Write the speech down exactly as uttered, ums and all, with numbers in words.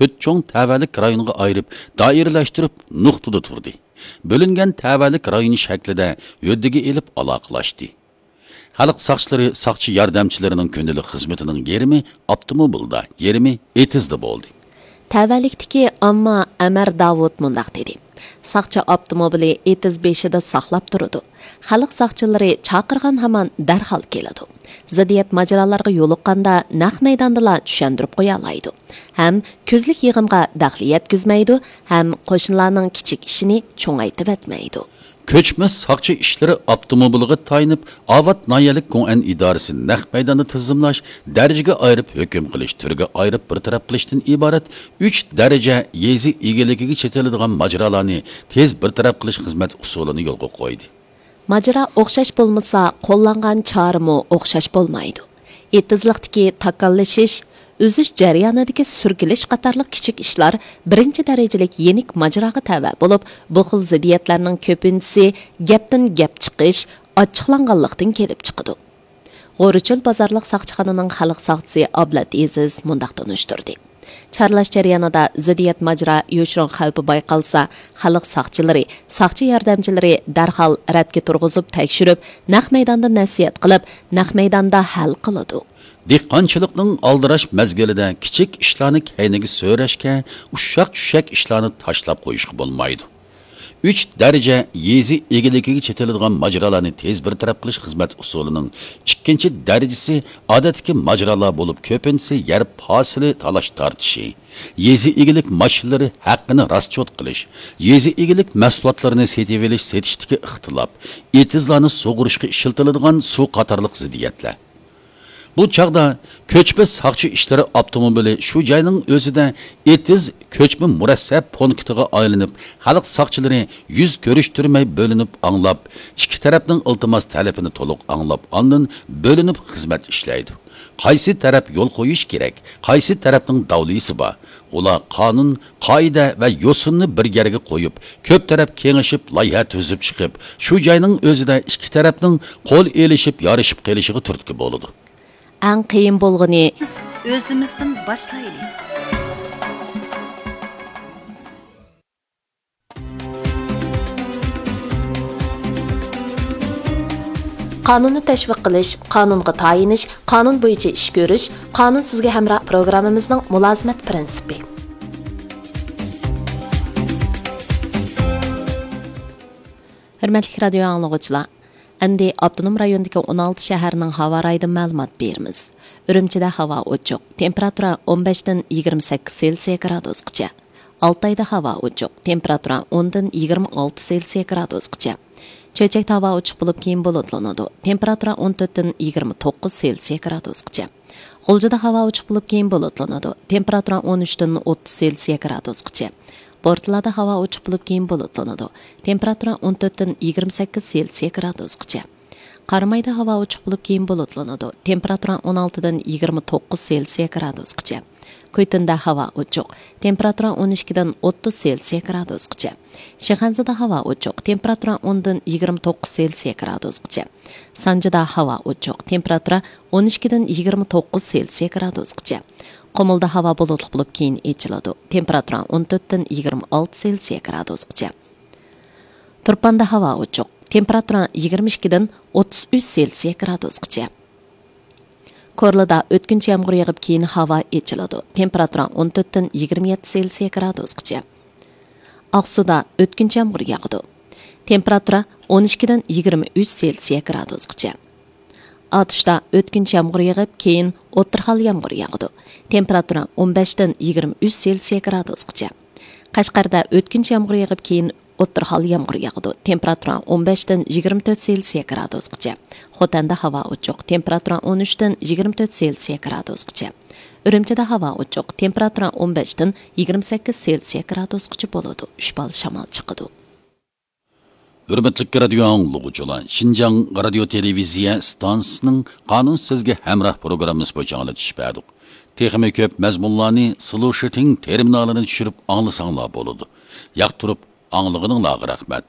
تۆت چوڭ تەۋەلىك رايونغا ئايرىپ، دائىرىلەشتۈرۈپ نۇقتىدا تۇردى. بۆلۈنگەن تەۋەلىك رايون شەكلىدە ھۆددىگە ئېلىپ ئالاقىلاشتى. خەلق ساقچىلىرى ساقچى ياردەمچىلىرىنىڭ كۈندىلىك خىزمىتىنىڭ يېرىمى ئاپتوموبىلدا، يېرىمى ئېتىزدا بولدى. تەۋەلىكتىكى ئامما ئەمەر داۋۇت مۇنداق دېدى: ساقچى ئاپتوموبىلى ئېتىز بېشىدا ساقلاپ تۇرىدۇ. خەلق ساقچىلىرى چاقىرغان ھامان دەرھال كېلىدۇ. زىددىيەت ماجىرالارغا يولۇققاندا نەق مەيداندىلا چۈشەندۈرۈپ قويالايدۇ ھەم كۆزلۈك يىغىمغا دەخلى يەتكۈزمەيدۇ ھەم قوشنىلارنىڭ كىچىك ئىشىنى چوڭايتىۋەتمەيدۇ. كۆچمە ساقچى ئىشلىرى ئاپتوموبىلىغا تايىنىپ، ئاۋات ناھىيەلىك گوڭئەن ئىدارىسى نەق مەيداندا تىزىملاش، دەرىجىگە ئايرىپ ھۆكۈم قىلىش، تۈرگە ئايرىپ بىر تەرەپ قىلىشتىن ئىبارەت ئۈچ دەرىجە يېزا ئىگىلىكىگە چېتىلىدىغان ماجىرالارنى تېز بىر تەرەپ قىلىش خىزمەت ئۇسۇلىنى يولغا قويدى. ماجىرا ئوخشاش بولمىسا، قوللانغان چارىمۇ ئوخشاش بولمايدۇ. ئېتىزلىقتىكى تاكاللىشىش، ئۈزۈش جەريانىدىكى سۈركىلىش قاتارلىق كىچىك ئىشلار بىرىنچى دەرىجىلىك يېنىك ماجىراغا تەۋە بولۇپ، بۇ خىل زىددىيەتلەرنىڭ كۆپىنچىسى گەپتىن گەپ چىقىش، ئاچچىقلانغانلىقتىن كېلىپ چىقىدۇ. غورىچۆل بازارلىق ساقچىخانىنىڭ خەلق ساقچىسى ئابلەت ئېزىز مۇنداق تونۇشتۇردى: چارلاش جەريانىدا زىددىيەت ماجىرا يوشۇرۇن خەۋپى بايقالسا، خەلق ساقچىلىرى، ساقچى ياردەمچىلىرى دەرھال رەتكە تۇرغۇزۇپ تەكشۈرۈپ، نەق مەيداندا نەسىھەت قىلىپ، نەق مەيداندا ھەل قىلىدۇ. دېھقانچىلىقنىڭ ئالدىراش مەزگىلىدە كىچىك ئىشلارنى كەينىگە سۆرەشكە، ئۇششاق-چۈششەك ئىشلارنى تاشلاپ قويۇشقا بولمايدۇ. ئۈچ دەرىجە يېزا ئىگىلىكىگە چېتىلىدىغان ماجىرالارنى تېز بىر تەرەپ قىلىش خىزمەت ئۇسۇلىنىڭ ئىككىنچى دەرىجىسى ئادەتتىكى ماجىرالار بولۇپ، كۆپىنچىسى يەر پاسىلى تالاش-تارتىشى، يېزا ئىگىلىك ماشىنىلىرى ھەققىنى راسچوت قىلىش، يېزا ئىگىلىك مەھسۇلاتلىرىنى سېتىۋېلىش-سېتىشتىكى ئىختىلاپ، ئېتىزلارنى سۇغۇرۇشقا ئىشلىتىلىدىغان سۇ قاتارلىق زىددىيەتلەر. بۇ چاغدا كۆچمە ساقچى ئىشلىرى ئاپتوموبىلى شۇ جاينىڭ ئۆزىدە ئېتىز كۆچمە مۇرەسسە پونكىتىغا ئايلىنىپ، خەلق ساقچىلىرى يۈز كۆرۈشتۈرمەي بۆلۈنۈپ ئاڭلاپ، ئىككى تەرەپنىڭ ئىلتىماس تەلىپىنى تولۇق ئاڭلاپ، ئاندىن بۆلۈنۈپ خىزمەت ئىشلەيدۇ. قايسى تەرەپ يول قويۇش كېرەك، قايسى تەرەپنىڭ داۋلىسى بار، ئۇلار قانۇن، قائىدە ۋە يوسۇننى بىر يەرگە قويۇپ، كۆپ تەرەپ كېڭىشىپ، لايىھە تۈزۈپ چىقىپ، شۇ جاينىڭ ئۆزىدە ئىككى تەرەپنىڭ قول ئېلىشىپ، يارىشىپ قېلىشىغا تۈرتكە بولىدۇ. ئەڭ قىيىن بولغىنى، بىز ئۆزىمىزدىن باشلايلى. قانۇننى تەشۋىق قىلىش، قانۇنغا تايىنىش، قانۇن بويىچە ئىش كۆرۈش، قانۇن سىزگە ھەمراھ پروگراممىمىزنىڭ مۇلازىمەت پىرىنسىپى. ھۆرمەتلىك رادىيو ئاڭلىغۇچىلار، ئەمدى ئاپتونوم رايوندىكى ئون ئالتە شەھەرنىڭ ھاۋا رايىدىن مەلۇمات بېرىمىز. ئۈرۈمچىدە ھاۋا ئوچۇق، تېمپېراتۇرا ئون بەشتىن يىگىرمە سەككىز سېلسىيە گرادۇسقىچە. ئالتايدا ھاۋا ئوچۇق، تېمپېراتۇرا ئوندىن يىگىرمە ئالتە سېلسىيە گرادۇسقىچە. چۆچەكتە ھاۋا ئوچۇق بولۇپ، كېيىن بۇلۇتلىنىدۇ، تېمپېراتۇرا ئون تۆتتىن يىگىرمە توققۇز سېلسىيە گرادۇسقىچە. غۇلجىدا ھاۋا ئوچۇق بولۇپ، كېيىن بۇلۇتلىنىدۇ، تېمپېراتۇرا ئون ئۈچتىن ئوتتۇز سېلسىيە گرادۇسقىچە. بورتالادا ھاۋا ئوچۇق بولۇپ، كېيىن بۇلۇتلىنىدۇ، تېمپېراتۇرا ئون تۆتتىن يىگىرمە سەككىز سېلسىيە گرادۇسقىچە. قارامايدا ھاۋا ئوچۇق بولۇپ، كېيىن بۇلۇتلىنىدۇ، تېمپېراتۇرا ئون ئالتىدىن يىگىرمە توققۇز سېلسىيە گرادۇسقىچە. كۈيتۇندا ھاۋا ئوچۇق، تېمپېراتۇرا ئون ئىككىدىن ئوتتۇز سېلسىيە گرادۇسقىچە. شىخەنزىدە ھاۋا ئوچۇق، تېمپېراتۇرا ئوندىن يىگىرمە توققۇز سېلسىيە گرادۇسقىچە. سانجىدا ھاۋا ئوچۇق، تېمپېراتۇرا ئون ئىككىدىن يىگىرمە توققۇز سېلسىيە گرادۇسقىچە. قۇمۇلدا ھاۋا بۇلۇتلۇق بولۇپ، كېيىن ئېچىلىدۇ، تېمپېراتۇرا ئون تۆتتىن يىگىرمە ئالتە سېلسىيە گرادۇسقىچە. تۇرپاندا ھاۋا ئوچۇق، تېمپېراتۇرا يىگىرمە ئىككىدىن ئوتتۇز ئۈچ سېلسىيە گرادۇسقىچە. كورلىدا ئۆتكۈنچى يامغۇر يېغىپ، كېيىن ھاۋا ئېچىلىدۇ، تېمپېراتۇرا ئون تۆتتىن يىگىرمە يەتتە سېلسىيە گرادۇسقىچە. ئاقسۇدا ئۆتكۈنچى يامغۇر ياغىدۇ، تېمپېراتۇرا ئون ئىككىدىن يىگىرمە ئۈچ سېلسىيە گرادۇسقىچە. ئاتۇشتا ئۆتكۈنچى يامغۇر يېغىپ، كېيىن ئوتتۇرا ھال يامغۇر ياغىدۇ، تېمپېراتۇرا ئون بەشتىن يىگىرمە ئۈچ سېلسىيە گرادۇسقىچە. قەشقەردە ئۆتكۈنچى يامغۇر يېغىپ، كېيىن ئوتتۇرا ھال يامغۇر ياغىدۇ، تېمپېراتۇرا ئون بەشتىن يىگىرمە تۆت سېلسىيە گرادۇسقىچە. خوتەندە ھاۋا ئوچۇق، تېمپېراتۇرا ئون ئۈچتىن يىگىرمە تۆت سېلسىيە گرادۇسقىچە. ئۈرۈمچىدە ھاۋا ئوچۇق، تېمپېراتۇرا ئون بەشتىن يىگىرمە سەككىز سېلسىيە گرادۇسقىچە بولىدۇ، ئۈچ بال شامال چىقىدۇ. ھۆرمەتلىك رادىيو ئاڭلىغۇچىلار، شىنجاڭ رادىيو تېلېۋىزىيە ئىستانسىسىنىڭ قانۇن سىزگە ھەمراھ پروگراممىسى بويىچە ئاڭلىتىش بەردۇق. تېخىمۇ كۆپ مەزمۇنلارنى سلۇشىتىڭ تېرمىنالىنى چۈشۈرۈپ ئاڭلىساڭلار بولىدۇ. ياقتۇرۇپ ئاڭلىغىنىڭلارغا رەھمەت.